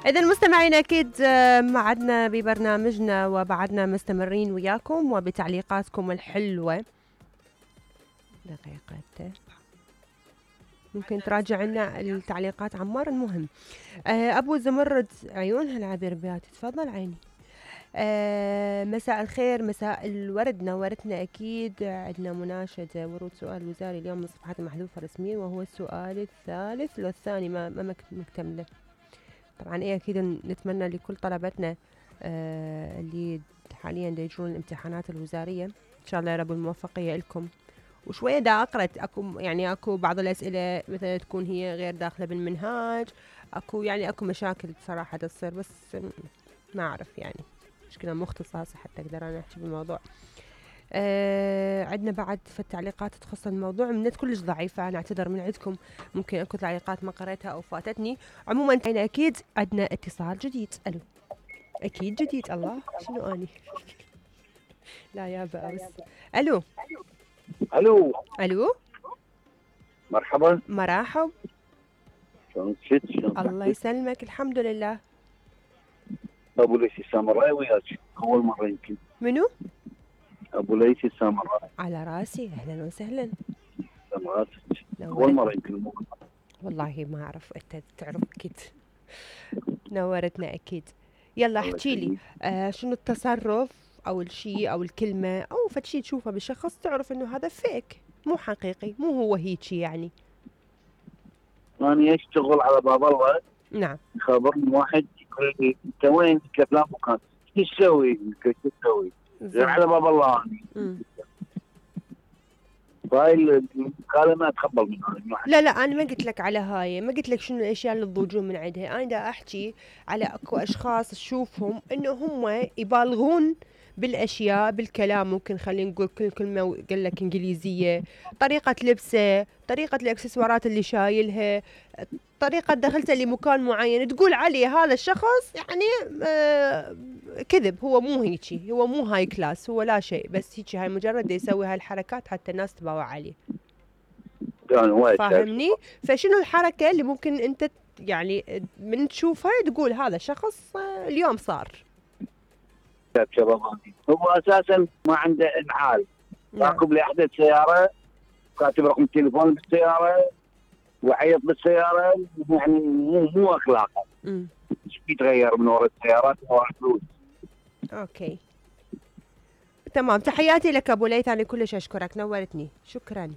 إذا المستمعين أكيد معدنا ببرنامجنا وبعدنا مستمرين وياكم وبتعليقاتكم الحلوة. دقيقة ممكن تراجع لنا التعليقات عمار. المهم أبو زمرد عيونها العبيربيات، تفضل عيني. مساء الخير، مساء الورد، نورتنا أكيد. عندنا مناشدة ورود سؤال وزاري اليوم من الصفحات المحذوفة رسميا، وهو السؤال الثالث لو الثاني ما مكتمله. طبعا أكيد نتمنى لكل طلبتنا اللي حاليا يجرون الامتحانات الوزارية إن شاء الله يا رب الموفقية لكم. وشوية دا أقرأت أكو بعض الأسئلة مثلا تكون هي غير داخلة بالمنهاج، أكو مشاكل بصراحة تصير، بس ما أعرف يعني مشكلة مختصاصة حتى أقدر أنا أحكي بالموضوع. عندنا بعد في التعليقات تخص الموضوع منت كلش ضعيفة، أنا أعتذر من عندكم، ممكن أكو تعليقات ما قريتها أو فاتتني. عموما أكيد عندنا اتصال جديد. ألو، أكيد جديد. الله شنو أني لا يا بأس. ألو الو ألو، مرحبا. مرحب. شلون شلون الله يسلمك، الحمد لله. ابو ليث السامراء وياك اول مره يمكن. منو؟ ابو ليث السامراء. على راسي، اهلا وسهلا. سامراتك اول مره يمكن. والله ما اعرف، انت تعرف اكيد. نورتنا اكيد. يلا احكي لي شنو التصرف او الشيء او الكلمه او فد شيء تشوفه بالشخص تعرف انه هذا فيك، مو حقيقي، مو هو هيجي يعني. انا اشتغل على باب الله. نعم. خبرني واحد يقول لي انت وين؟ قلت له مكان. ايش تسوي؟ قلت له تسوي؟ على باب الله انا. فهاي المكالمه ما اتقبل منها. لا انا ما قلت لك على هاي، ما قلت لك شنو الاشياء اللي تضوجون من عندها، انا دا احكي على اكو اشخاص تشوفهم انه هم يبالغون بالاشياء، بالكلام. ممكن خلينا نقول كل كلمه قال لك انجليزيه، طريقه لبسه، طريقه الاكسسوارات اللي شايلها، طريقه دخلته لمكان معين تقول عليه هذا الشخص يعني كذب. هو مو هيجي، هو مو هاي كلاس، هو لا شيء، بس هيجي هاي مجرد يسوي هاي الحركات حتى الناس تباوع عليه. فاهمني؟ فشنو الحركه اللي ممكن انت يعني من تشوفها تقول هذا شخص اليوم صار هو اساسا ما عنده انعال. راكب لي احدى السياره، كاتب رقم التليفون بالسياره وعيط بالسياره، يعني مو اخلاقه. ايش بيتغير من وراء السيارات وراء الفلوس؟ اوكي تمام. تحياتي لك ابو ليث، انا كلش اشكرك، نورتني، شكرا.